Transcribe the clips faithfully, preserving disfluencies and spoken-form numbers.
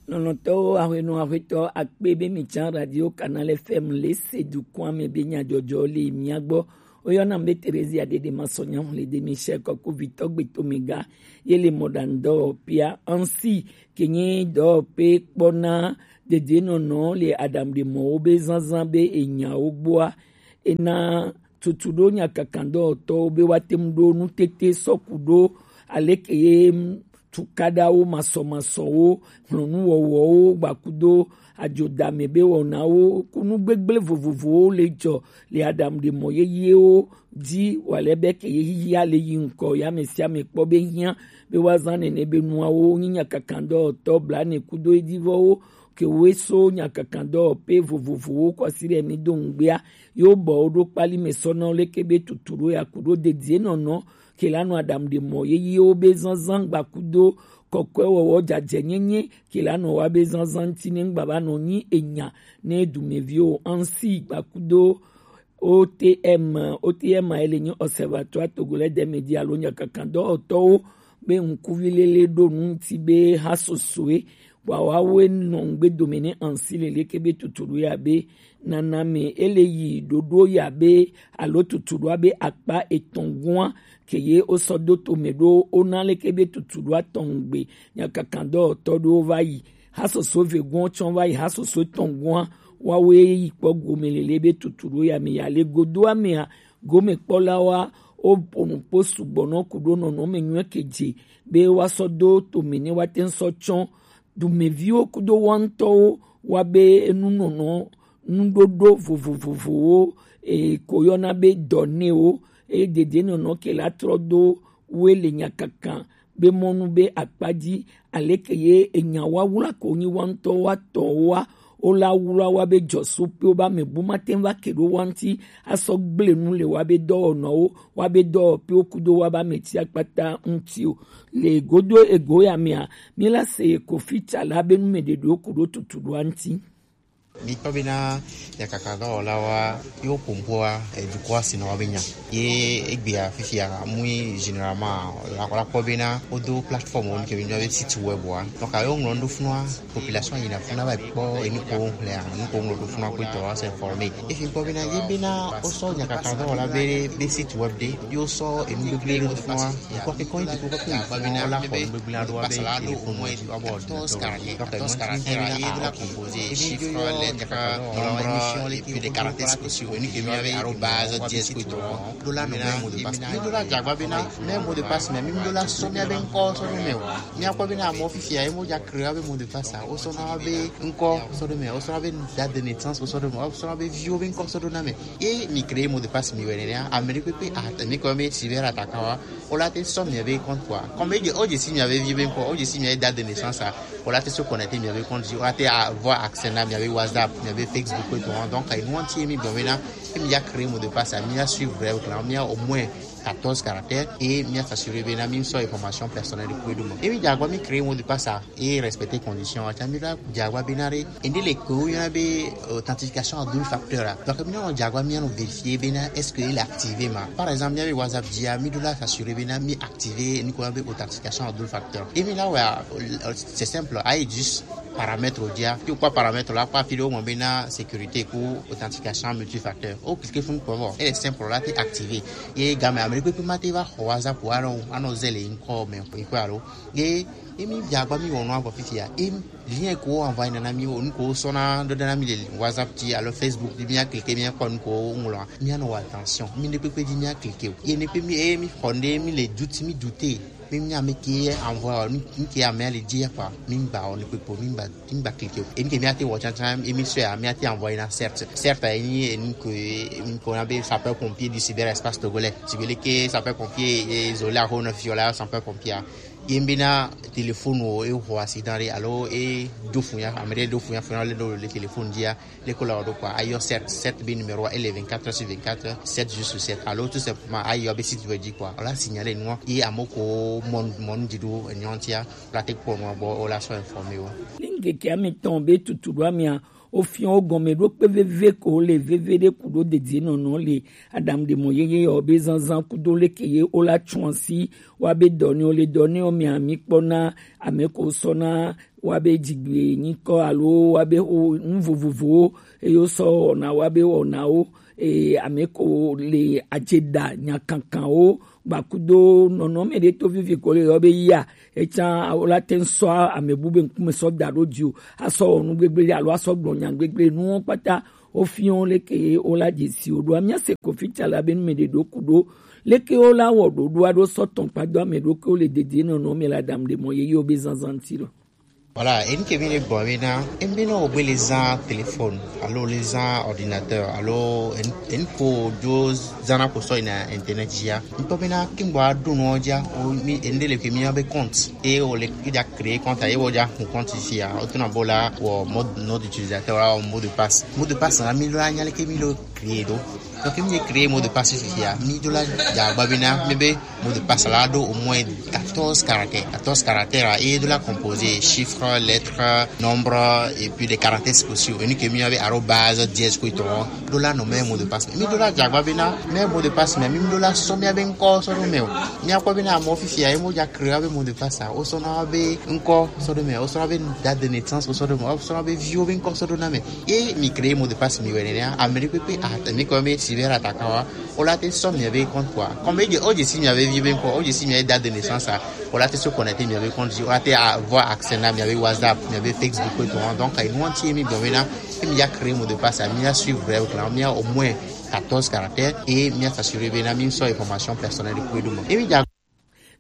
Lɔlɔ̃tɔwo, ahwenu ahwetɔ akpe be mi can Radio Canal F M le se dukɔa me be nyajɔjɔ le mia gbɔ. Woyɔna be Theresia Dede Masɔnya Hlede Michel Kɔkuvitɔ Gbetomega ye le mɔɖaŋudɔwɔƒea Ansi, ke nye dɔwɔƒe kpɔna dedienɔnɔ le aɖaŋuɖemɔwo be zazã be enyawo gbɔa, ena tutu ɖo nyakakandɔwɔtɔwo be woate ŋu ɖo nutete sɔku ɖo aleke ye tukaɖawo masɔmasɔwo, hlɔnuwɔwɔwo, gbakudo adzodame be wɔnawo ku nu gbegblẽ vovovowo le dzɔ le aɖaŋuɖemɔ yeyewo dzi wòale be ke ye xexia le yi ŋkɔ ye ame sia ame kpɔ be hiã be woazã nene be nuawo nyi nyakakandɔwɔtɔ blaene kudo edivɔwo ke woe so nyakakandɔwɔƒe vovovowo kɔ asi ɖe mi do ŋugbea, yewo bɔ wo ɖo kpali me sɔ na wo leke be tutu ɖo ya ku ɖo dedienɔnɔ ke la nɔ aɖaŋuɖemɔ yeyewo be zazã gbakudo kɔkɔewɔwɔ dzadzɛnyenye ke la nɔ wa be zazã ŋuti ne ŋgba va nɔ nyi enya ne dumeviwo Ansi gbakudo O T M, O T M ele nyi Observatoire Togolais des Médias alo nyakakandɔwɔtɔwo be ŋkuvi lele ɖo nu ŋuti be ha sosoe wa wawoe nɔ ŋgbe dome ne Ansi leleke be tutu ɖo ya be nana me ele yi ɖoɖo ya be alo tutu ɖoa be akpa etɔ̃ gɔ̃a ke ye wosɔ do tome ɖo wona leke be tutu ɖoa tɔn gbe nyakakandɔwɔtɔ ɖewo va yi. Hasoso vegɔ̃ tsɔ va yi hasoso etɔ̃ gɔ̃a, woawoe yi kpɔ gome lele be tutu ɖo ya me ya le godoa mea, gomekpɔlawoa woƒo nu kpo sugbɔ nɔ ku ɖo nɔnɔme nyuie ke dze be woasɔ do tome ne woate ŋu sɔ tsɔ dumeviwo kudo wa ŋutɔwo wa be enunɔnɔ nuɖoɖo vovovowo e ko yɔna be dɔnewo e dedienɔnɔ ke la trɔ do woe le nyakakan be mɔnu be akpa dzi aleke ye enya wawla ko nyi wa ŋutɔ wa tɔ wa wo la wla wa be dzɔsupiwo be ame bu mate ŋu va ke ɖo wa ŋuti asɔ gblẽ nu le wa be dɔwɔnɔwo wa be dɔwɔƒewo kudo wa be ame tsi akpata ŋuti o. Le godo ego ya mea, mi la se Kofi Tsala be nu me ɖeɖewo ku ɖo tutu ɖoa ŋuti. Mikpɔ bena nyakaka dɔwɔlawoa yewo ƒo nu ƒoa edukɔa si nɔ woabe nya. Ye egbea fifia mui généralement la la kpɔ bena wodo plateforme wo nu ke mi yɔna be site web wa. Donc yewo ŋlɔ nu ɖo funua, population yina funua va yi kpɔ enu ko ŋlɔa, nu ko ŋlɔ ɖo funua kpɔtɔ wa se informer. Efi kpɔ bena ye bena wosɔ nyakaka dɔwɔla be be site web ɖe, ye wosɔ enu gbegblẽ ɖo funua. Dukɔ ke kɔ yi dukɔ kɔ ke yi funua la xɔ nu gbegblẽ aɖewo abe téléphone dzi wa bɔ ordinateur dzi. Donc enu ŋuti mi bena ah ok. Ebi do yɔ nyakaka dɔwɔla wa émission le plus de caractères spéciaux. Enu ke mi yɔna be arobase dièse kpɔtɔ. Ɖo la nɔ be mot de passe. Mi ɖo la dze agba bena mɛ mot de passe mɛ mi ɖo la sɔ mia be ŋkɔ sɔ ɖo mɛ o. Mia kpɔ bena amewo fifia ye mo dza créer be mot de passe a, wosɔ na be ŋkɔ sɔ ɖo mɛ, wosɔ na be date de naissance sɔ ɖo mɛ, wosɔ na be viwo be ŋkɔ sɔ ɖo na mɛ. Ye mi créer mot de passe mi wɛ nenea, ame ɖe kpekpe a mi kɔ be cyber attaque wa, wola te sɔ mia be compte quoi. Comme o dze si mia be vi be ŋkɔ, o dze si mia be date de naissance a, wola te se connecter mia be compte dzi, wola te avoir accès na mia be WhatsApp, mia be Facebook kpɔtɔ. Donc enu ŋuti mi gblɔ bena ke mi dza créer mot de passe a, mi ya suivre règle la, mi ya au moins quatorze caractères et mi ya s'assurer bena mi sɔ information personnelle kpɔtɔ ɖo mɛ. Ye mi dze agba mi créer mot de passe a, ye respecter condition wa, ta mi la dze agba bena ɖe ende le ko yɔna be authentification à double facteur a. Donc mi nɔ dze agba mi anɔ vérifier bena est-ce que il est activé ma. Par exemple, mi ya be WhatsApp dzia, mi ɖo la s'assurer bena mi activer nu ko yɔna be authentification à double facteur. Ye mi la wɛ a, c'est simple, ayi juste paramètre o dzia. Fi kpɔ paramètre la kpɔ afi ɖe wo ŋlɔ bena sécurité ku authentification multifacteur. O cliquer fun kpɔ vɔ. Ele simple la te activé. Ye game ame ɖe kpekpe ma te va xɔ WhatsApp wa anɔ anɔ ze le ŋkɔ mɛ ŋkɔ alo. Ye ye mi dze agba mi wɔ nua vɔ fifia. Ye lien ko envoyer na mi o nu ko sɔ na ɖo na mi le WhatsApp dzi alo Facebook dzi mi ya cliquer mi ya kpɔ nu ko ŋlɔa. Mi anɔ wɔ attention. Mi ɖe kpekpe dzi mi ya cliquer o. Ye ne kpe mi ye mi xɔ ne mi le doute mi doute. Mi nya mi ke envoyer o, mi ke ame le dzi ya kpɔ. Mi gba o ne kpekpe mi gba mi gba cliquer o. Ye mi ke mi ate wɔ tsantsan ye mi sɔ ya mi ate envoyer na certes. Certes ye ni ye ni ko ye mi ko na be sapeur pompier du cyberespace togolais. Sigbe leke sapeur pompier ye isolé a ho na fiola sapeur pompier. Ye mi be na téléphone o e ho accident re alo e do fun ya, ame ɖe do fun ya fun ya le do le téléphone dzi ya. Le ko la o do quoi, ayɔ sept, sept be numéro ele vingt-quatre sur vingt-quatre, sept jours sur sept. Alo tout simplement ayɔ be site web dzi quoi. Ola signaler nua ye amo ko mon mon dzi do enyon tia, la te kpɔ nua bo ola so informer o. Lingeke amitɔn be tutu ɖo amia Ofiɔ gɔme ɖo kpe veve ko le veve ɖe ku ɖo dedie nɔnɔ le adamu ɖe mɔ yeye yɔ be zanzan kudo leke ye o la tsuansi wa be dɔ ne o le dɔ ne o mia mi kpɔ na ame ko sɔ na wa be dzigbe nyikɔ alo wa be o nu vovovowo eye o sɔ wɔna wa be wɔnawo eye ame ko le adze da nyakankanwo gbakudo nɔnɔme ɖe to vivi ko le yɔ be yia etsã o la te ŋu sɔ ame bu be ŋkume sɔ da ɖo dzi o asɔ wɔ nu gbegblẽ ɖe alo asɔ gblɔ nya gbegblẽ nuwo kpata. Ofiɔ leke ye o la dze si o ɖoa mia se ko fitsa la be nu me ɖe ɖo ku ɖo leke o la wɔ ɖoɖoa ɖo sɔ tɔn kpa do ame ɖo ke o le dede nɔnɔ me la dam ɖe mɔ ye ye o be zanzan ti lɔ. Voilà, enu ke mi le gbɔ be na, emi be na o gbe le zã téléphone, alo le zã ordinateur, alo enu ko jo zana ko sɔ na internet ya. Ŋutɔ be na ke gbɔ aɖo nɔ ja, o mi ende le ke mi be compte, e o le ke ja créer compte, e o ja hun compte sia, o tuna bo la, wɔ mode, nom d'utilisateur, wɔ mot de passe. Mot de passe na mi lo anya le ke mi lo créer ɖo. Donc mi créer mot de passe fifia, mi do la ja gba be na, mi be mot de passe la ɖo au moins quatorze caractères. Quatorze caractères, et de la composé chiffres, lettres, nombres, et puis des caractères spéciaux. Et nous que mi avait arobase dièse quoi ton. Do la nommer mot de passe. Mi do la ja gba be na, mais mot de passe, mais mi do la so mi abe encore so do me o. Mi akwa be na mo fifia, e mo ja créer be mot de passe. O so na be encore so do me. O so na be date de naissance, o so do me. O so na be vieux be encore so do na me. Ye mi créer mot de passe mi wene ne Amérique pe a mi comme cyber attaquant wa. O la te sɔ mi be compte quoi. Comme je o je si mi be vie ben quoi, o je si mi date de naissance a. O la te se connecter mi be compte, o la te avoir accès na mi be WhatsApp, mi be Facebook et tout. Donc il nous anti mi bon maintenant, mi a créé mot de passe, mi a suivre bref là, mi a au moins quatorze caractères et mi a s'assurer bien mi so information personnelle de quoi. Et mi a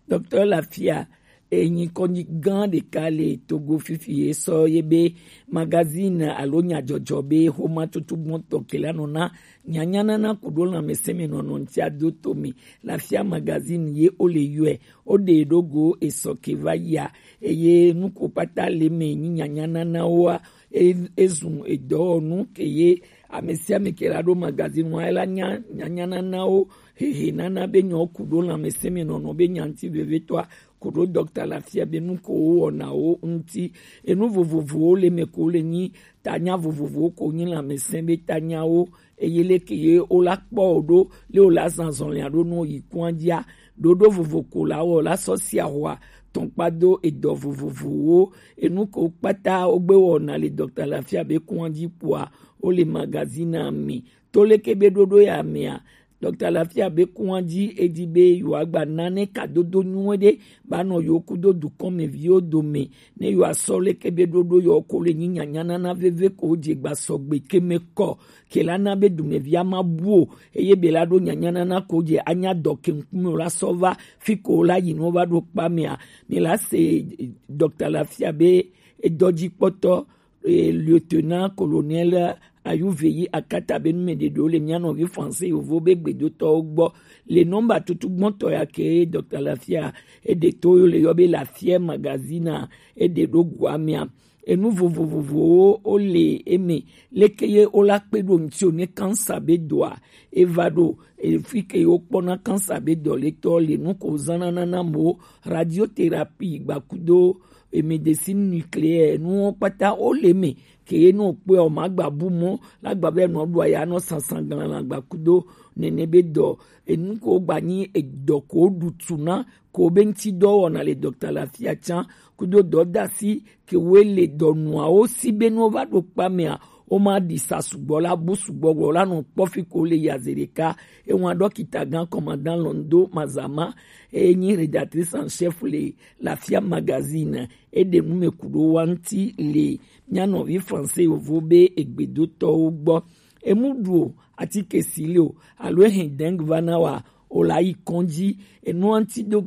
Docteur Lafia enyi kɔnyi gã ɖeka le Togo fifi ye sɔ ye be magazine alo nyadzɔdzɔ be xomatutu gbɔntɔ ke la nɔ na nyanyanana kuɖo lãmesẽmenɔnɔ ŋuti ado to me. Lafia magazine ye o le yɔe o ɖe ɖo go esɔ ke va yia eye nuko kpata le me nyi nyanyananawoa e- ezu edɔwɔnu ke ye ame sia ame ke la ɖo magazine wa ela nya nyanyananawo hehe nana be nyɔ ku ɖo lãmesẽmenɔnɔ be nyanti vevetɔa ku ɖo dɔkta Lafia be nu ko wowɔnawo ŋuti. Enu vovovowo le me ko le nyi tanya vovovowo ko nyi lãmesẽ be tanyawo eye leke ye wola kpɔ wo ɖo le wola zã zɔlia ɖo nu yi kua dzia ɖoɖo vovo ko la wɔ la sɔ sia hoa tɔnkpa do edɔ vovovowo enu ko kpata wogbe wɔna le dɔkta Lafia be kua dzi kpoa wole magazine me. To leke be ɖoɖo ya mea, dɔkta Lafia be kua dzi edi be yewoagba nane kadodo nyuie ɖe ba nɔ yewo kudo dukɔmeviwo dome ne yewoasɔ leke be ɖoɖo yewo ko le nyi nyanyanana veve ko dze gba sɔgbe ke me kɔ ke la na be dumevia ma bu o eye be la ɖo nyanyanana ko dze anya dɔ ke ŋkume o la sɔ va fi ko la yi nɔ va ɖo kpa mea mi la se dɔkta Lafia be edɔdzikpɔtɔ eh, lieutenant colonel Ayuveyi akata be nume ɖeɖewo le mía nɔvi français yovo be gbedotɔwo gbɔ le nɔmba tutu gbɔntɔ ya ke dɔkta Lafia eɖe to yo le yɔ be Lafia magazine eɖe ɖo gua mea enu vovovovowo wo le eme leke ye wo la kpe ɖo ŋuti o ne kansa be dɔa eva ɖo efi ke wo kpɔna kansa be dɔ le tɔ le nu ko zana nana mo radiothérapie gbakudo e médecine nucléaire nuwo kpata wo le me ke ye no kpe o ma gba bu mo la gba be no ɖo ya no sansan glan la gba kudo nene be dɔ enu ko gba nyi edɔ ko ɖu tu na ko be ŋuti dɔ wɔna le dɔkta Lafia tsã kudo dɔ dasi ke wo le dɔ nuawo si be no va ɖo kpa mea wo ma ɖi sa sugbɔ la bu sugbɔ gbɔ la nɔ kpɔ fi ko le yaze ɖeka ewa dɔkita gã commandant Londo Mazama e nyi rédactrice en chef le Lafia magazine eɖe nu me ku ɖo wa ŋuti le mía nɔvi français yovo be egbedotɔwo gbɔ. Emu ɖu o, atike si le o, alo ehe dengue va na wa, o la yi kɔndzi. Enua ŋuti do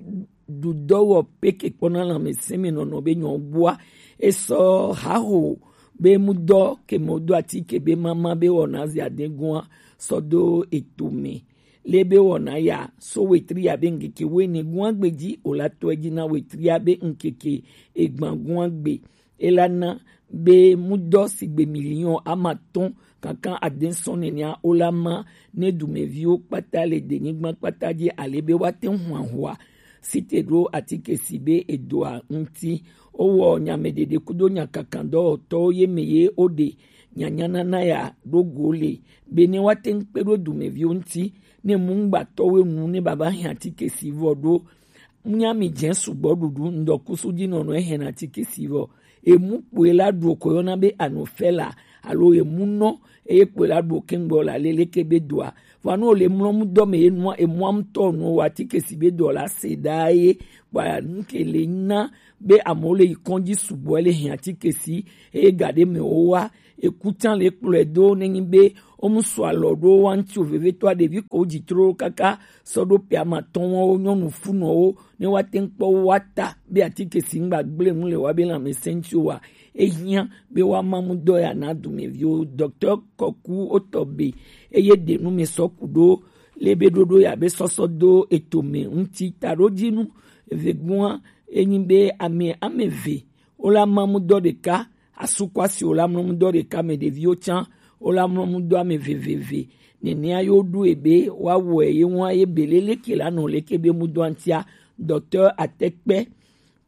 ɖu dɔ wɔ pe ke kpɔna lãmesẽ me nɔnɔ be nyɔ gbua. Esɔ haho be mu dɔ ke mo do atike be mama be wɔna zi adegua sɔ do eto me. Le be wɔna ya so wetri ya be ŋkeke wene gua gbe dzi o la tɔ edzi na wetri ya be ŋkeke egban gua gbe. Ela na be mudɔ sigbe miliɔn amatɔn kankan ade sɔn nenia wo la ma ne dumeviwo kpata le denyigba kpata dzi ale be woate ŋu ahua site ɖo atike si be edoa ŋuti. Wowɔ nyamedede kudo nyakakan dɔwɔtɔwo ye me ye woɖe Nyanyanana ya ɖo go le be ne woate ŋu kpe ɖo dumeviwo ŋuti, ne mungbatɔwo nu ne baba hɛn atike si vɔ ɖo. Nya mi jɛ sugbɔ ɖuɖu ŋdɔ kusu dzi nɔnɔ ehɛn atike si vɔ. Emu kpoe la ɖu ko yɔna be anofela alo emu nɔ eye kpoe la ɖu kɛngbɔ la lele ke be doa. Vɔa ne wòle mlɔmudɔ me ye nua emua ŋutɔ nua wɔ atike si be dɔ la se ɖaa ye kpa nu ke le na be amewo le yi kɔdzi sugbɔ ele hɛn atike si eye ga ɖe me wowa eku tsã le kplɔe do nenyi be womu sɔ alɔ ɖo wa ŋuti o vevetɔa ɖevi ko dzi tro kaka sɔ ɖo pɛ amatɔn wɔwo nyɔnu funɔwo ne woate ŋu kpɔ woa ta be atike si ŋgba gblẽ nu le woabe lãmesẽ ŋuti oa, ehiã be woama mudɔ ya na dumeviwo. Docteur Kɔku wotɔ be eye ɖe nu me sɔ ku ɖo le be ɖoɖo ya be sɔsɔ do eto me ŋuti taɖodzinu. Evegua enyi be ame ame eve wola ma mudɔ ɖeka, asu kɔ asi wola mlɔ mudɔ ɖeka me ɖeviwo tsã wola mlɔ mudɔ ame veveve. Nenea yo ɖo ebe woawɔe ye ŋua ye belele ke la nɔ leke be mudɔ ŋutia. Docteur Atekpe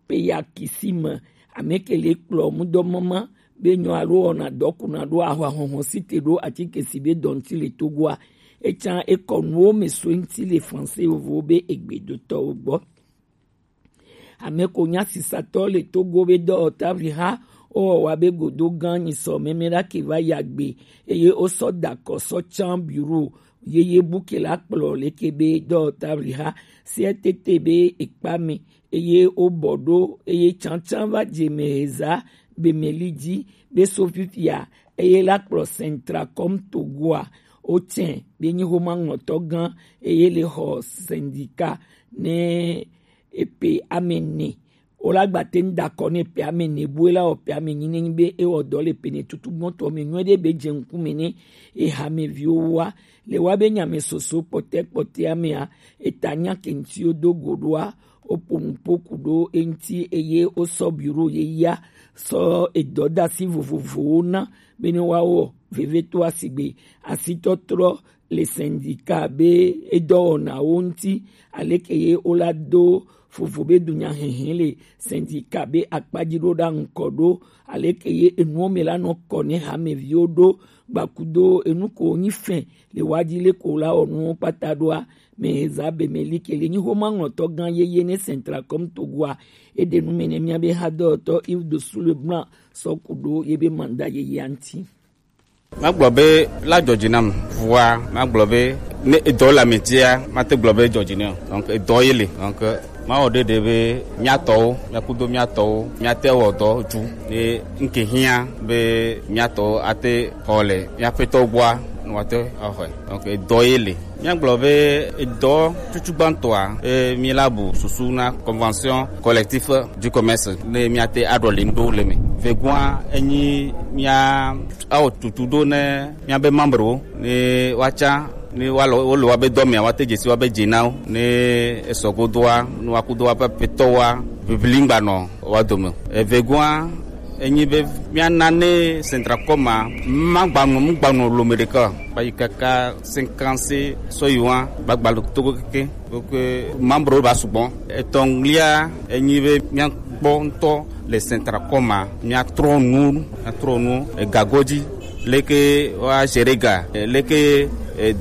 Peyakisime, ame ke le kplɔ mudɔ mama be nyɔ alo wɔna dɔ kuna ɖo ahwa hɔhɔ si te ɖo atike si be dɔ ŋuti le Togoa. Etsã ekɔ nuwo me so ŋuti le français vovowo be egbedotɔwo gbɔ. Ame ko nya sisatɔ le Togo be dɔwɔtavli ha wowɔ wa be godo gã nyisɔ mɛmɛ ɖa ke va ya gbe eye wosɔ da kɔ sɔ tsan bureau yeye bu ke la kplɔ leke be dɔwɔtavli ha C R T T be ekpa me eye wobɔ ɖo eye tsantsan va dze me heza be meli dzi be so fifia eye la kplɔ Centracom Togoa wotsɛ be nyi homa ŋlɔtɔ gã eye le xɔ syndicat ne epe ame ne. Wola gba te ŋu da akɔ ne epe ame ne bue la wɔ pe ame nyi ne nyi be ewɔ dɔ le pe ne tutu gbɔtɔ me nyuie ɖe be dze ŋkume ne eha me viwo wa le wa be nya me soso kpɔtɛ kpɔtɛ amea eta nya ke ŋuti wo do go ɖoa woƒo nu ƒo ku ɖo eŋuti eye wosɔ bureau yeyea sɔ edɔdasi vovovowo na be ne woawɔ vevitɔa sigbe asitɔtrɔ le syndicat be edɔwɔnawo ŋuti aleke ye wola do vovo be dunyahehe le syndicat be akpadzi ɖo ɖa ŋkɔ ɖo aleke ye enuwo me la nɔ kɔ ne hameviwo ɖo gbakudo enu ko nyi fɛn le wa dzi le ko la wɔ nuwo kpata ɖoa. Meheza be meli ke le nyi homa ŋlɔtɔ gã yeye ne Centracom Togoa eɖe nu me ne mía be hadɔtɔ Yves de Sule Blanc sɔ ku ɖo ye be mandat yeyea ŋuti. Magblɔ be la dzɔ dzi nam vɔa magblɔ be ne edɔ le ame tia mate gblɔ be dzɔ dzi nɛ o. Donc edɔ ye le donc mawɔ ɖeɖe be míatɔwo míakudo míatɔwo míate wɔ dɔ dzu ne nke hiã be míatɔwo ate xɔ le míaƒetɔ gbɔa ne woate axɔe. Donc edɔ ye le. Míagblɔ be edɔ tutu gbãtɔa e, míela bu susu na convention collectif du commerce ne míate aɖɔ le ŋɖo le me. Vegua enyi mía awɔ tutu ɖo ne míabe membrewo ne woatsa ne woalɔ wole woabe dɔ mea woate dzesi woabe dze na wo ne esɔ godoa ne woakudo woaƒe aƒetɔwoa bibli ŋgbanɔ woa dome o. Evegua enyi be míana ne Centracom ma magbanɔ mugbanɔ lome ɖeka o. Va yi kaka cinquante sɔ yi wa gbagba le togo keke. Donc membre ba sugbɔ. Etɔ̃lia enyi be míakpɔ ŋutɔ le Centracom ma míatrɔ nu míatrɔ nu egago dzi leke woa gérer ga leke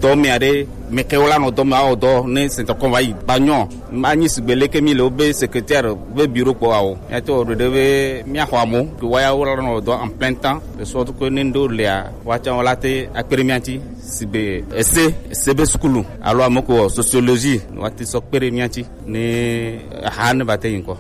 dɔmea ɖe meke wola nɔ dɔme awɔ dɔ ne Centracom va yi ba nyɔ. Anyi sigbe leke mi le wobe secrétaire be bureau kpɔ awo. Míate wɔ ɖeɖe be míaxɔ amewo ke woaya wola nɔ dɔ en plein temps de sorte que ne ŋɖewo lea woatsã wola te akpe ɖe mía ŋuti. Sigbe ese ese be sukulu alo ame ko wɔ sociologie woate sɔ kpe ɖe mía ŋuti ne aha ne va te yi ŋkɔ.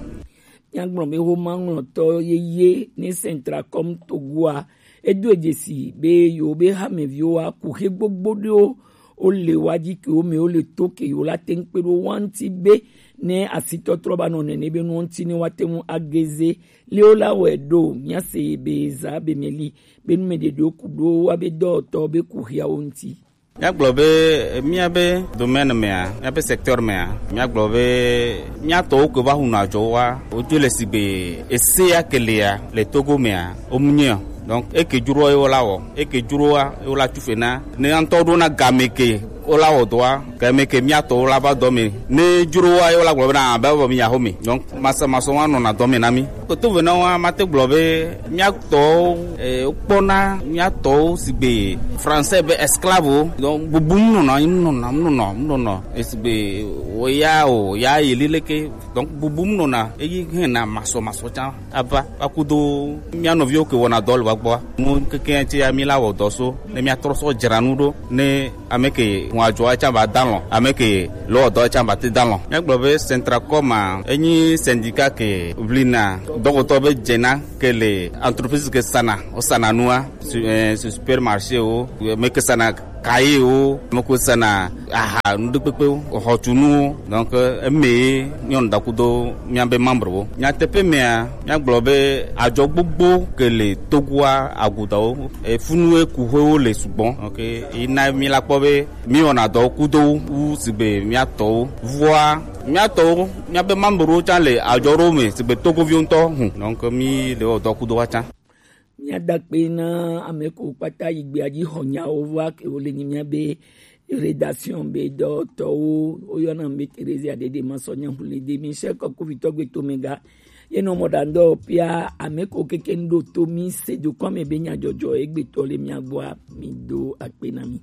Míagblɔ be homa ŋlɔtɔ yeye ne Centracom Togoa edo dzesi be yewo be hameviwo aku xe gbogbo ɖewo wole wa dzi ke wo me wole to ke yewo la te ŋu kpe ɖo wa ŋuti be ne asitɔtrɔ ba nɔ nene be nuwo ŋuti ne woate ŋu ageze le wo la wɔe ɖo míase be za be meli be nu me ɖeɖewo ku ɖo wa be dɔwɔtɔ be ku xiawo ŋuti. Míagblɔ be míabe domaine mea míabe secteur mea míagblɔ be míatɔwo ke va hunɔ adzɔ wa wodzo le sigbe esea ke lea le Togo mea womunye o. Donc eke dzroa ye wola wɔ eke dzroa ye wola tufe na ne ŋutɔ ɖo na game ke Wo la wɔ dɔa, ke me ke mía tɔwo la va dɔ me. Ne dzro wa, wo la gblɔ bena, be vɔ mi ya xɔ me. Donc, masɔmasɔ wa nɔna dɔ me na mí. Koto ve na wa, mate gblɔ be mía tɔwo, eh, wokpɔna mía tɔwo sigbe français be esclave wo. Donc, bubum nɔna, nɔna, nɔna, nɔna. Esigbe wo ya o, ya yi lileke. Donc, bubum nɔna, eyi hena masɔmasɔ tsã ava, va kudo mía nɔviwo ke wɔna dɔ le wa gbɔa. Nu keke tse ya mí la wɔ dɔ so, ne mía trɔ sɔ dzra nu ɖo, ne ame ke ŋua dzɔa tsã va dalɔn, ame ke lɔ dɔ tsã va te dalɔn. Mía gblɔ be Centracom a, enyi syndicat ke ʋlina dɔkɔtɔ be dzena ke le entreprise ke sana, o sana nua, su-, eh, su supermarché o, me ke sana kaye o, me ke sana aha, nu ɖe kpekpe o, xɔtunu o. Donc, eh, eme ye nyɔnu da kudo mía be membre wo. Nyateƒe mea, mía gblɔ be adzɔ gbogbo ke le Togoa agudawo, e, funu e kuxewo le sugbɔ. Donc, yi na mí la kpɔ be mí wɔna dɔ kudo wu sigbe mía tɔwo. Vɔa, mía tɔwo, mía be membre wo tsã le adzɔ ɖo me sigbe Togoviwo ŋutɔ hu. Donc, mí le wɔ dɔ kudo wa tsã. Mía da akpe na ame kewo kpata yi gbea dzi xɔ nyawo va ke wo le nyi mía be rédaction be dɔtɔwo, woyɔna be Theresia Dede Masɔ Nyahulede Michel Kɔkuvitɔ Gbetomega. Ye nɔ mɔ ɖa ŋdɔ pia ame kewo keke ŋɖo to mi se dukɔ me be nyadzɔdzɔ egbetɔ le mia gbɔa, mi do akpe na mi.